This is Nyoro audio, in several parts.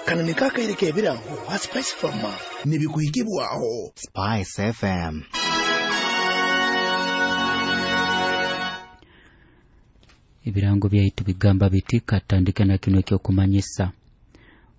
Kano niko akaire k'ebirango ha Spice Farmer nibikuhikibwaho Spice FM. Ebirango byaitu bigamba biti katandike na kino ekyokumanyisa.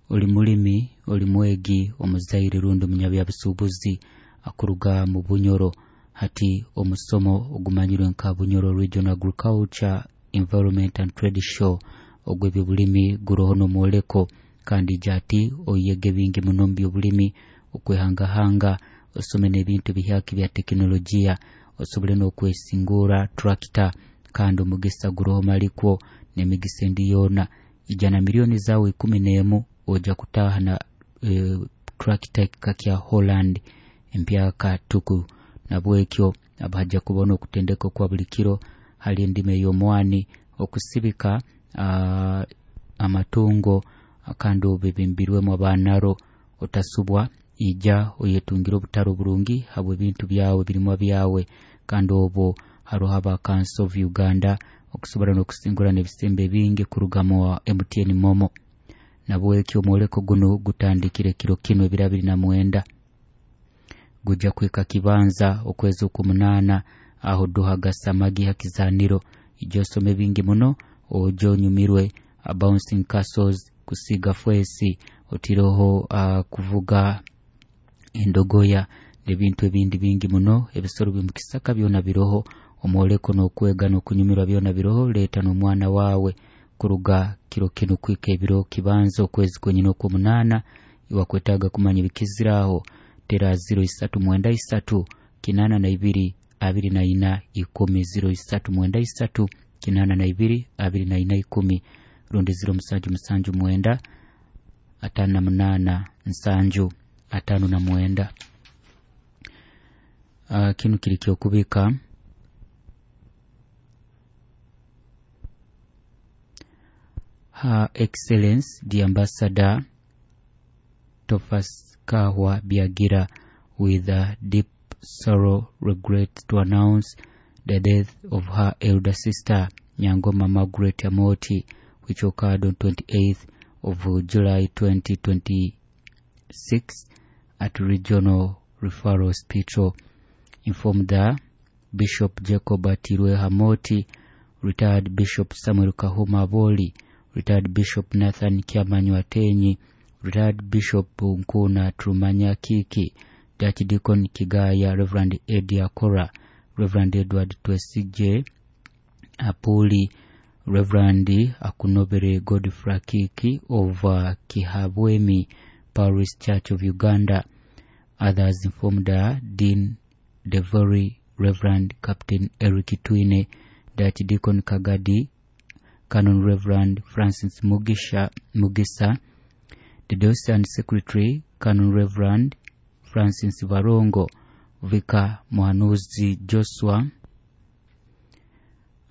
Oli mulimi, oli mwegi, omuzaire rundi omunyabyabusuubuzi akuruga mu Bunyoro. Hati omusomo ogumanyirwe nka Bunyoro Regional Agriculture, Environment and Trade Show ogw'ebyobulimi guroho n'omwoleko, kandi ija ati oyege bingi muno mu byobulimi, okwehangahanga, osome n'ebintu bihyaka bya tekinologiya, osobole n'okwesingura tractor, kandi omugisa guroho malikwo n'emigisa endi yoona. Ija na milioni zawe 11 oja kutaha na tractor ekika kya Holland empyaka tuku. Nabwekyo abahaja kubona okutendeka kwa buli kiro hali endima ey'omwani, okusibika amatungo kandi obibimbirwemu abanaro. Otasubwa, ija oyetungire obutaro burungi habw'ebintu byawe, birimwa byawe. Kandi obwo haroho aba Council of Uganda okusobora n'okusingura n'ebisembe bingi kuruga mu MTN Momo. Nabwekyo omwoleko guno gutandikire kiro kino ebiro 29, guja kwika kibanza okwezi okw'omunaana aho duhaga samagi hakizaniro. Ija osome bingi muno, oje onyumirwe bouncing castles, kusiga fwesi, otiroho kuvuga endogoya n'ebintu ebindi bingi muno. Ebisoro by'omukisaka byona biroho, omwoleko n'okwega n'okunyumirwa byona biroho. Leeta n'omwana wawe kuruga kiro kino kwika ebiro kibanza okwezi kwenyini okw'omunaana. Iwakwetaaga kumanya ebikiziraho, tera 0393 82 24 10, 0393 82 24 10, rundi 0779 58 7 59. Kinu kiri kyokubika Her Excellence the Ambassador Tofas Kahwa Biagira with a deep sorrow regret to announce the death of her elder sister Nyangoma Margaret Amoti, which occurred on 28th of July 2026 at Regional Referral Hospital. Informed the Bishop Jacob Atirwe Hamoti, retired Bishop Samuel Kahuma Aboli, retired Bishop Nathan Kyamanyu Atenyi, retired Bishop Nkuna Trumanya Kiki, Archdeacon Kigaya, Reverend Eddie Akora, Reverend Edward Twesige Apuli, Reverend Akunobere Godfrey Kiki of Kihabwemi Parish Church of Uganda. Others informed her, Dean Devory, Reverend Captain Eric Twine, Archdeacon Kagadi, Canon Reverend Francis Mugisa, the Diocesan Secretary, Canon Reverend Francis Varongo, Vicar Mohanuzi Joshua,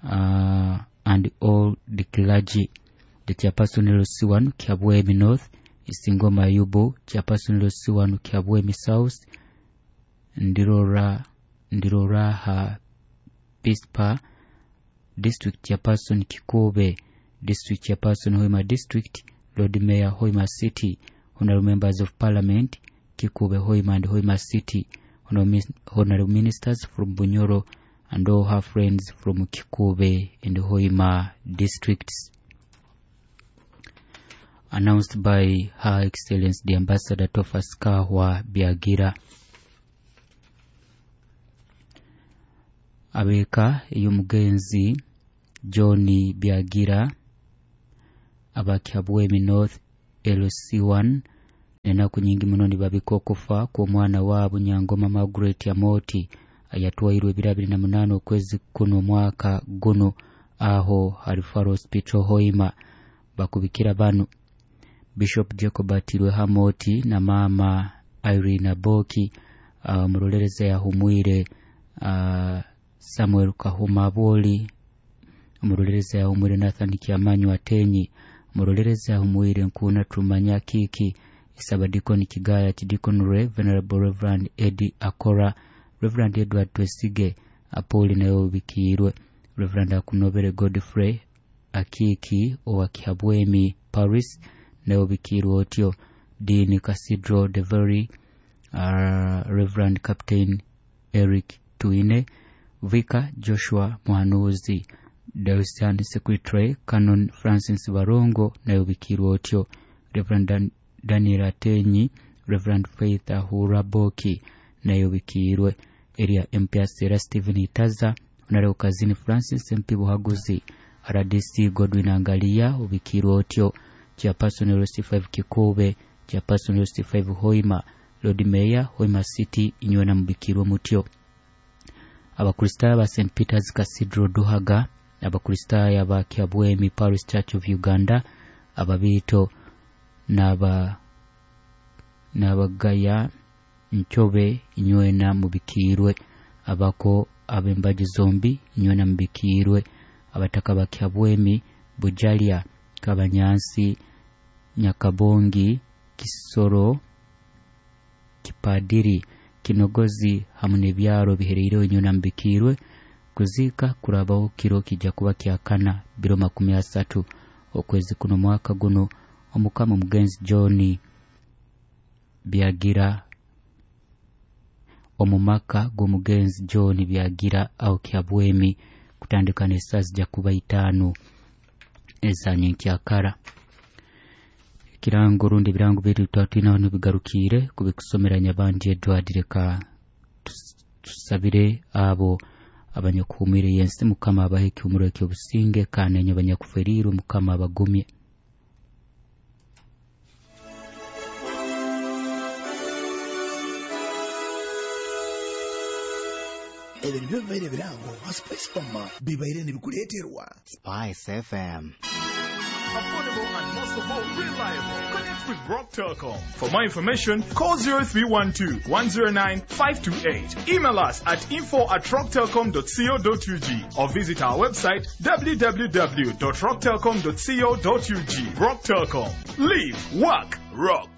and all the clergy. The Chairperson LC1 Kiabwemi North, Isingoma Yubu, Chairperson LC1 Kiabwemi South, Ndiroraha Pispa, District Chairperson Kikube, District Chairperson Hoima District, Lord Mayor Hoima City, Honorable Members of Parliament, Kikube Hoima and Hoima City, Honorable Ministers from Bunyoro, and all her friends from Kikube and Hoima districts. Announced by Her Excellency the Ambassador Tofas Kahwa Biagira. Abeka ey'omugenzi John Biagira abakihabwemi North LC1 nenaku nyingi muno nibabika okufa kw'omwana waabo Nyangoma Margaret Amoti ayatwairwe ebiro 28 okwezi kuno omwaka guno aho Referral Hospital Hoima. Bakubikira bano Bishop Jacob Atirwe Hamoti na mama Irene Aboki, omurolereza yahumwire Samuel Kahuma Aboli, omurolereza yahumwire Nathan Kyamanyu Atenyi, omurolereza yahumwire Nkuna Trumanya Kiki, Isabadikoni Kigaya, Chidikon Re, Venerable Reverend Eddie Akora, Reverend Edward Twesige Apoli naye obikiirwe, Reverend Akunobere Godfrey Akiki owa Kihabwemi Paris, Nawe obikiirwe otyo. Dean Cathedral the Very Reverend Captain Eric Twine, Vicar Joshua Muhanuzi, Diocesan Secretary Canon Francis Barongo, nawe obikiirwe otyo. Reverend Daniel Atenyi, Reverend Faith Ahura Boki, nawe obikiirwe. Area MP Sera Stephen Itaza, Honorable Kazini Francis MP Buhaguzi, RDC Godwin Angalia, obikiirwe otyo. Chairperson LC5 Kikube, Chairperson LC5 Hoima, Lord Mayor Hoima City, inywe na mubikirwe mutyo. Abakristaayo ba St Peter's Cathedral Duhaga, Abakristaayo aba Kyabwemi Parish Church of Uganda, Ababiito n'Abagaya Nchobe, inywena mubikirwe. Abako ab'embaju zombi, inywena mubikirwe. Abataka ba Kyabwemi, Bujalya, Kabanyansi, Nyakabongi, Kisoro, Kipadiri, Kinogozi hamu n'ebyaro bihereireho, inywena mubikirwe. Kuziika kurabaho kiro kijja kuba kyakana 2030 okwezi kuno mwaka guno. Omukama omugenzi John Byagira omumaka g'omugenzi John Byagira aho Kyabwemi, kutandika n'esaaha zijja kuba 5 eza nyenkyakara. Ekirango rundi ebirango bitu twatwinaho nibigarukiire kubikusomera Nyabandi Edward. Leka tusabire abo abanyakuhumire yensi, Mukama abahe ekihumuro eky'obusinge, kandi enye abanyakuferiirwe Mukama abagumye. Ebyo nibyo bibaire ebirango ha Spice Farmer bibaire nibikuleeterwa Spice FM. Affordable and most of all, reliable. Connect with Rock Telcom. For more information, call 0312 109 528. Email us at info@rocktelcom.co.ug or visit our website www.rocktelcom.co.ug. Rock Telcom. Live, work, rock.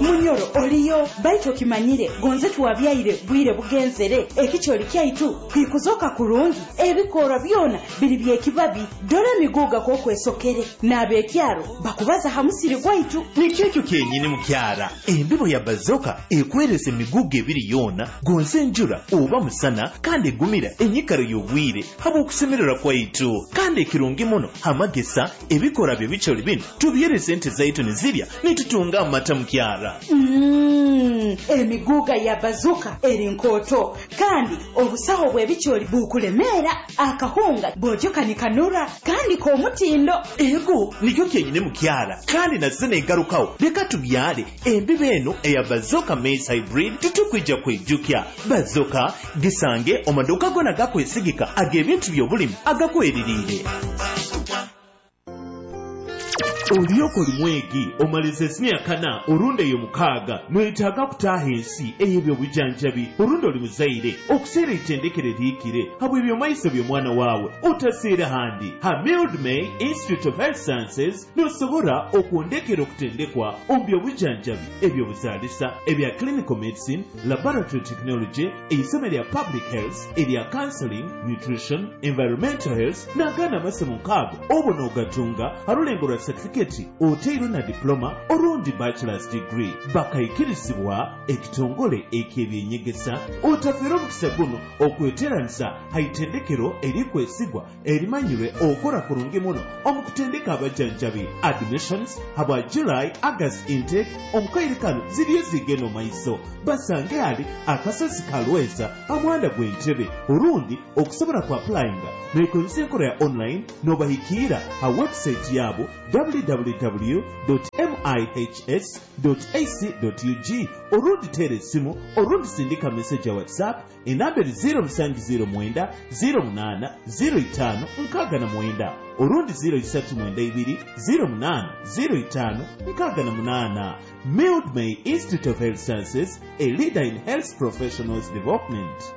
Munyoro oliyo baitu okimanyire gonze tuwabyaire bwire bugenzere ekikyoli kyaitu kwikuzoka kurungi ebikora byona biri byekibabi dore emiguga kwokwesokere n'abekyaro bakubaza ha musiri gwaitu. Nikyo ekyo kyenyini mukyara, embibo ya Bazoka ekweresa emiguga ebiri yoona gonze enjura oba musana, kandi egumira enyikaro y'obwire habw'okusemererwa kwaitu. Kandi ekirungi muno hamagesa ebikora bye bikyoli bino tubyeresa ente zaitu nizirya nitutunga amata mukyara. Emiguga ya Bazuka eri nkoto kandi obusaho bw'ebikyoli bukulemeera akahunga bojoka nikanura kandi k'omutindo. Ego nikyo kyenyine mukyara, kandi nazo negarukawo. Leka tubyale embibo eno eya Bazoka maize hybrid, titukwija kwijukya. Bazoka gisange omaduka gona gakwesigika ag'ebintu by'obulimi agakweririire. Olyoka oli mwegi omaliza esiniya kana orundi eyo mukaaga noyetaaga kutaaha ensi ey'ebyobujanjabi, orundi oli muzaire okuseera eitendekero erihikire habw'ebyomaiso by'omwana waawe, otaseera handi. Ha Mildmay Institute of Health Sciences nosobora okwondekera okutendekwa omu byobujanjabi, ebyobuzaalisa, ebya clinical medicine, laboratory technology, eisomo erya public health, erya counseling, nutrition, environmental health n'agandi amasomo nkaago. Obwo n'ogatunga ha rulengo rwa certificate oteirwe na diploma orundi bachelor's degree, bakaikirizibwa ekitongole eky'ebyenyegesa. Otafeera omukisa guno okweteranisa ha itendekero erikwesigwa erimanyirwe okora kurungi muno omu kutendeka abajanjabi. Admissions habwa July August intake omukaire kano ziriyo zigenda omaiso. Basange ali akasozi kalweza amuhanda gw'entebe, orundi okusobola ku applyinga noikozesa enkola ya online nobahikiira ha website yabo www.mihs.ac.ug, orundi teera esimu, orundi sindika message ya WhatsApp enamba eri 0709 08 05 69, orundi 0392 08 05 68. Mildmay Institute of Health Sciences, a leader in health professionals development.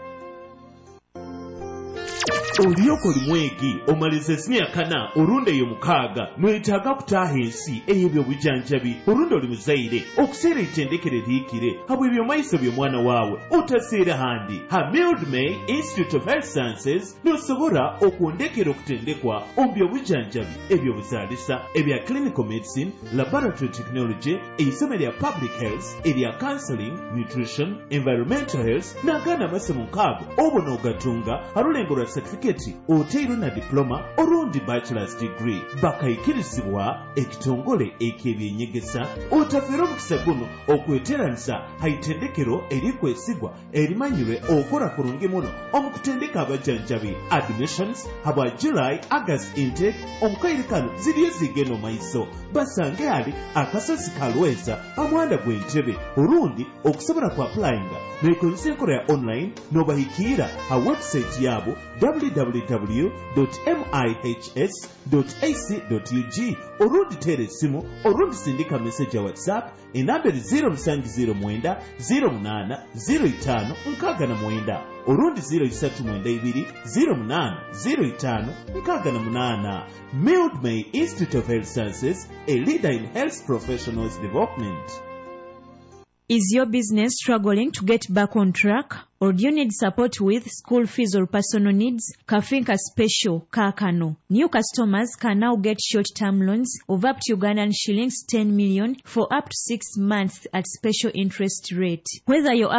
Olyoka oli mwegi omalize siniya kana orundi ey'omukaaga, noyetaaga kutaaha ensi ey'ebyobujanjabi, orundi oli muzaire okuseera eitendekero erihikire habw'ebyomaiso by'omwana waawe, otaseera handi. Ha Mildmay Institute of Health Sciences nosobora okwondekera okutendekwa omu byobujanjabi, ebyobuzaalisa, ebya clinical medicine, laboratory technology, eisomo erya public health, erya counseling, nutrition, environmental health n'agandi amasomo nkaago. Obo n'ogatunga ha rulengo rwa certificate oteirwe na diploma orundi bachelor's degree, bakaikirizibwa ekitongole eky'ebyenyegesa. Otafeera omukisa guno okweteranisa ha itendekero erikwesigwa erimanyirwe okora kurungi muno omu kutendeka abajanjabi. Admissions habwa July August intake omukaire kano ziriyo zigenda omaiso. Basange hali akasozi kalweza amuhanda gw'entebe, orundi okusobola ku applyinga nekozesa enkola ya online nobahikiira ha website yabo www.mihs.ac.ug, orundi teera esimu, orundi sindika message ya WhatsApp. Enamba eri 0709 08 05 69, orundi 0392 08 05 68. Mildmay Institute of Health Sciences, a leader in health professionals development. Is your business struggling to get back on track? Or do you need support with school fees or personal needs? Kafinka Special Kakano. New customers can now get short-term loans of up to Ugandan shillings 10 million for up to 6 months at special interest rate. Whether you're